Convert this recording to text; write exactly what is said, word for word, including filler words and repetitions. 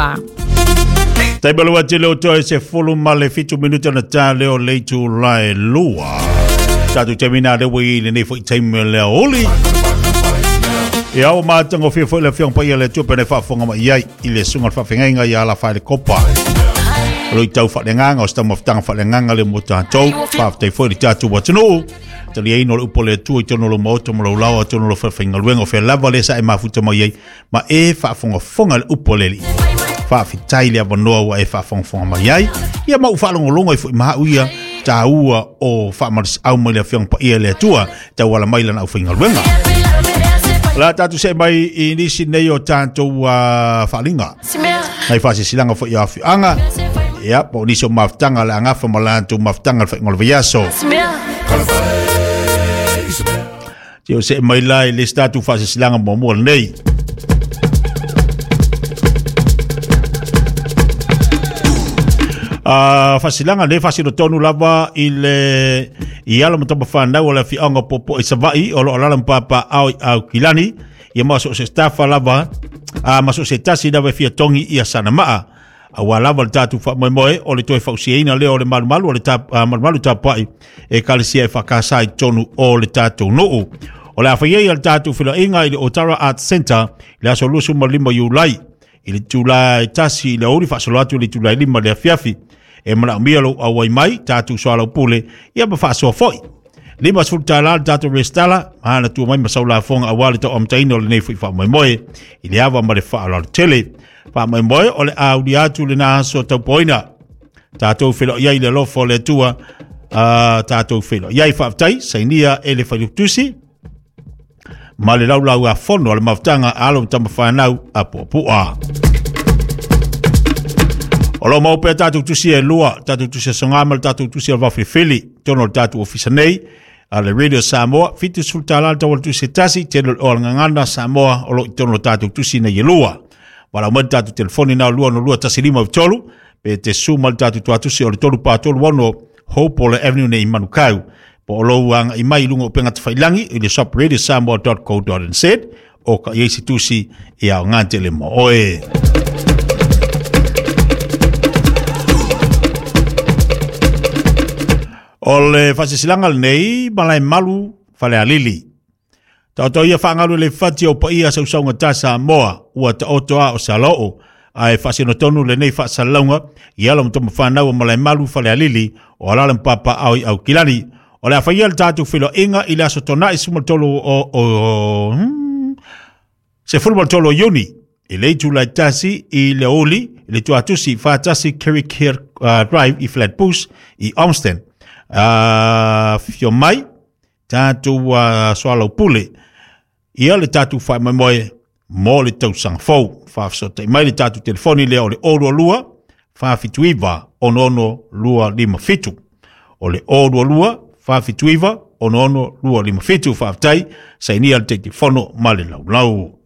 Samoa. Taibalua tele o toe se fulu ma le fitu minuta na tā leo leitu lai lua. Tātou temina lewa i le nei foi taimi lea oli. Ia o mātanga fia foi le fiong pa ia le tupe ne whaafonga mai ai i le sunga whawhengainga ia ala whaele kopa. Alo i tau whalenganga o stama whtanga whalenganga le mo tātou. Whaaftei foi le tātou watunuu. Tali ei no le upo le tua i tono lo maoto mo laulawa tono lo whawhengaluenga o whea lava le sa e mafuta mai ai. Ma e whaafongafonga le upo le li. Whaafitai le awanoa ua e whaafongafonga mai ai. Ia mau whaalongolongo i fui maha uia tā ua o whaamaris au mai le fiong pa ia le atua tau ala mai lana au whaingaluenga. La tātou se mai i nisi nei o tātou uh, whaalinga. Nei whaasisilanga fo i awhianga. Ia, po nisi o mafutanga le angafa ma lātou mafutanga le whaingolo viaso. Tio se mai lai le tātou whaasisilanga mua mua nei. Uh, fasilanga le fasilo tonu lava i le i ala matapa whanau o le whianga popo i Savai o lo alala mpapa au au kilani ia maso se staffa lava a maso se tasi lava fia tongi ia sana maa a wa lava le tatu wha moe moe o le toi whausiaina leo o le malumalu o le tap, uh, malumalu tapai e kalisia e whakasai tonu o le tatu nuu o le awhaiai al tatu whilainga i le Otara Art Center i le aso lusu malima iulai i le tūlai tasi i le ori whaasolo atu i le tūlai lima le afiafi e mana umia lo awai mai tātou soalau pule ia ma whaasoa foi. Lima sfulu tāla le tātou restala mahana tua mai masau la fonga awali tau amtaina o le nei fui wha moe i le awa ma le wha tele. Wha moe o le auli atu le nā aso taupoina. Tātou whilo iai le lofo le tua uh, tātou whilo. Iai whaaftai sainia e le whailutusi ma le laulau a fono a le mafutanga alo tama whanau a puapua. O lo maupea tātou tusi e lua, tātou tusi e songama, tātou tusi e wawhewheli, tono le tātou ofisa nei, a le Radio Samoa, fitu sultala le tawala tusi e tasi, teno le oalangangana Samoa, o lo i tono le tātou tusi nei e lua. Wala umai tātou telefoni nā lua no lua tasi lima tolu, pe te suma le tātou tuatusi o le tolu pā tolu ono, Hopole Avenue nei Manukau. Po o lo uanga i mai lunga o penga te whailangi, i le shop radio samoa dot co dot n z, o ka iesi tusi i au ngā le mo oe. O le whasisilanga nei, malai malu, whale alili. Taoto ia whangalu le whati o paia sausaunga tā Samoa, ua taoto a o saloo, a e whasinotonu le nei whaasalaunga, i ala mtoma whanau o malai malu whale alili, o alala mpapa au i au kilani. O le awhaia le tātou whilo inga i le aso tona i sumatolo o, o, o hmm, se fulmatolo iuni, i le itu lai tasi i le oli, i le tuatusi whaatasi Kerikeri uh, Drive i Flatbush i Olmsted. Uh, fio mai, tātou uh, soalau pule, ia le tātou whae mai moe, mō le tausanga fou. Whaafsotai mai le tātou telefoni lea o le olua lua, whaafituiva, ono ono lua lima fitu. O le olua lua, whaafituiva, ono ono lua lima fitu, whaaftai, sainia le te fono ma le laulau.